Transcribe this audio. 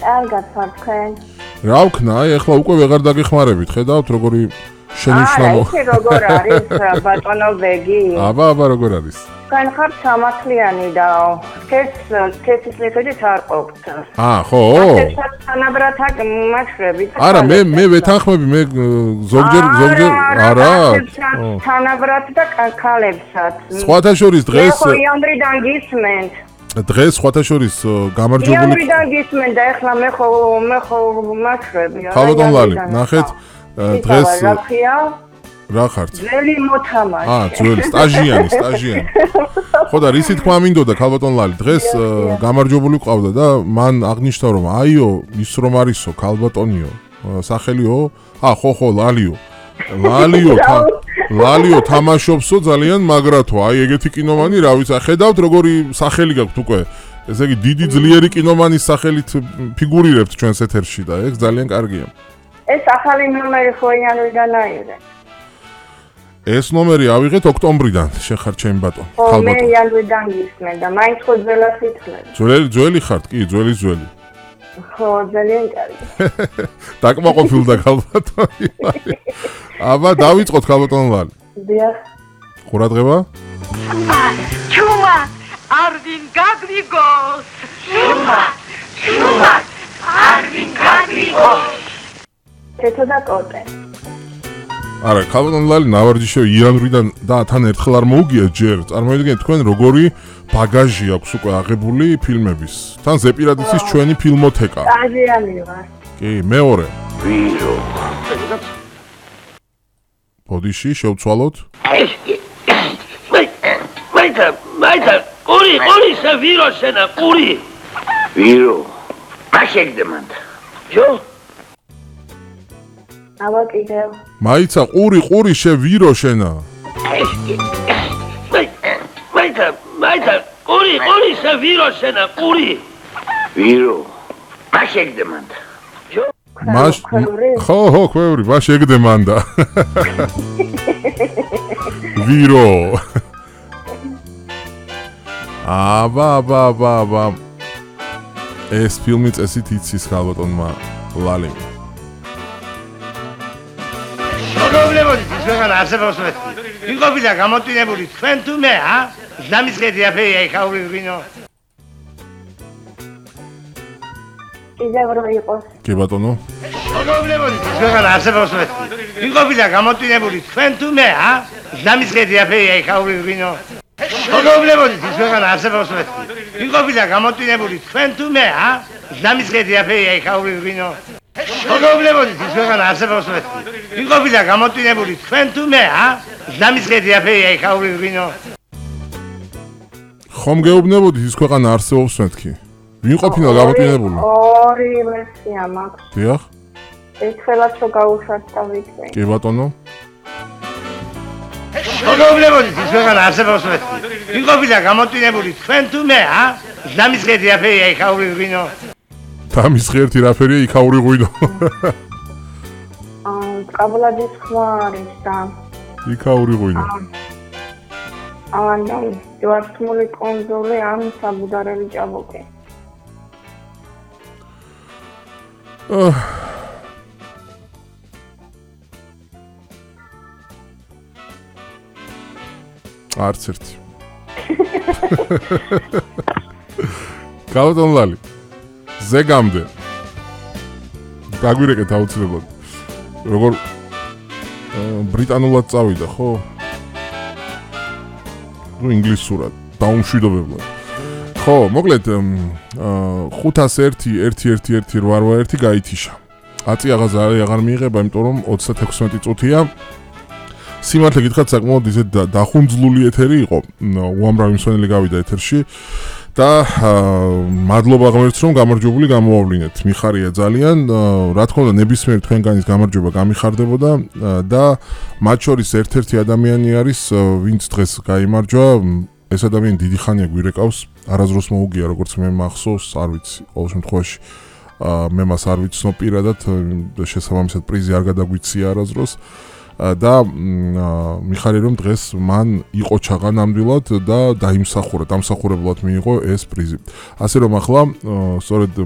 კარგად ვარ თქვენ. რა ვქნა, აი ახლა უკვე ვეღარ დაგეხმარებით, ხედავთ როგორი შენიშნავო. აი, როგორ არის ბატონო ბეგი? აბა, როგორ არის? თქვენ ხართ სამართლიანი და სქესის მიხედვით არ ყოფთ. ხო? თანაბრად აქ მახრებით. არა, მე ვეთანხმები, მე ზოგჯერ არა. თანაბრად და ქალებსაც. სხვათა შორის დღეს ხო, იანვრიდან გისმენთ. დღეს სხვათა შორის გამარჯვებული იანვრიდან გისმენთ და ეხლა მე ხო მახრები. ხალბატონ ლალი, ნახეთ დღეს რა ხართ? ძველი მოთამაშე. ძველი სტაჟიანი. ხო და რისი თქვა მინდოდა ხალბატონ ლალი, დღეს გამარჯვებული ყავდა და მან აღნიშნა რომ აიო, ის რომ არისო ხალბატონიო, სახელიო? ხო, ლალიო თამაშობსო ძალიან მაგრათო. აი ეგეთი კინომანი, რა ვიცი, ხედავთ როგორი სახელი გაქვთ უკვე. ესე იგი დიდი ძლიერი კინომანის სახელით ფიგურირებთ ჩვენს ეთერში და ეგ ძალიან კარგია. ეს ახალი ნომერი ხო იანვრიდან აიღე? ეს ნომერი ავიღეთ ოქტომბრიდან, შეხარ ჩემი ბატონო. ხო, მე იანვრიდან გისმენ და მაინც ხო ძველად ითვლები. ძველი ხართ კი, ძველი. ხო, ძალიან კარგი. დაკმაყოფილდა ხალბატონი. აბა, დავიწყოთ ხალბატონ ლალი. დიახ. ყურადღება. ჩუმა, არვინ გაგვიგოს. ჩუმა, არვინ გაგვიგოს. თეთო და კოტე. არა, ხალბატონ ლალი ნავარჯიშევი იანვრიდან და თან ერთხელ არ მოუგია ჯერ. წარმოიდგინეთ თქვენ როგორი ბაგაჟი აქვს უკვე აღებული ფილმების. თან ზეპირადიცის ჩვენი ფილმოთეკა. სტაჟიანი ვარ. კი, მეორე. ვირო. ბოდიში შევცვალოთ. მაიცა, ყური, სა ვირო შენა, ყური. ვირო. აშეგდემანდა. ჯო? აბა კიდევ. მაიცა, ყური, შე ვირო შენა. მაიცა, ყური, სა ვირო შენა, ყური. ვირო. აშეგდემანდა. ჯო? ხო, ქვევრი, აშეგდემანდა. ვირო. აბა. ეს ფილმი წესით იცის ხალბატონმა ლალიმ. მოგებლებოდით ის ვეღარ არსებობს მე. ვიყოფილა გამოტვინებული თქვენ თუ მე, ზამისხედი აფერია ეხაური ვინო. კიდევ რო იყოს. კი ბატონო. მოგებლებოდით ის ვეღარ არსებობს მე. ვიყოფილა გამოტვინებული თქვენ თუ მე, ზამისხედი აფერია ეხაური ვინო. მოგებლებოდით ის ვეღარ არსებობს მე. ვიყოფილა გამოტვინებული თქვენ თუ მე, ზამისხედი აფერია ეხაური ვინო. მოგებლებოდით ის ვეღარ არსებობს მე. ვიყოფილა გამოტვინებული თქვენ თუ მე, ზამისხედი აფერია ეხაური ვინო. ხომ გეუბნებოდით ის ქვეყანა არსებობს მეთქი? ვინ ყოფილა გამოტვინებული? ორი ვერსია მაქვს. დიახ. ერთხელაც რო გავუშვათ და ვიქცე. კი ბატონო. მოგებლებოდით ის ვეღარ არსებობს მე. ვიყოფილა გამოტვინებული თქვენ თუ მე, ზამისხედი აფერია ეხაური ვინო. დამის ღერთი რაფერია იქაური ღვინო. კაბლადის ხმა არის და იქაური ღვინო. და ჯვარცმული კონძოლი ან საბუდარელი ჭაბუკი. არც ერთი. ხალბატონ ლალი. ზეგამდე. გაგვირეკეთ აუცილებლად. როგორ ბრიტანულად წავიდა, ხო? ნუ ინგლისურად, დაუმშვიდობებლად. ხო, მოკლედ 501-111-881 გაითიშა. აწი აღარ მიიღება, იმიტომ რომ 36 წუთია. სიმართლე გითხრათ, საკმაოდ ისე დახუნძლული ეთერი იყო. უამრავი მსმენელი გავიდა ეთერში. და მადლობა ღმერთს რომ გამარჯვებული გამოავლინეთ. მიხარია ძალიან. რა თქმა უნდა, ნებისმიერი თქვენგანის გამარჯვება გამიხარდებოდა და მათ შორის ერთ-ერთი ადამიანი არის, ვინც დღეს გაიმარჯვა. ეს ადამიანი დიდი ხანია გვირეკავს. არაზრუს მოუგია, როგორც მე მახსოვს, არ ვიცი, ყოველ შემთხვევაში მე მას არ ვიცნობ პირადად, შესაბამისად პრიზი არ გადაგვიცია არაზრუს. და მიხარია რომ დღეს მან იყო ჩაღა ნამდვილად და დაიმსახურა, დამსახურებლად მიიღო ეს პრიზი. ასე რომ ახლა სწორედ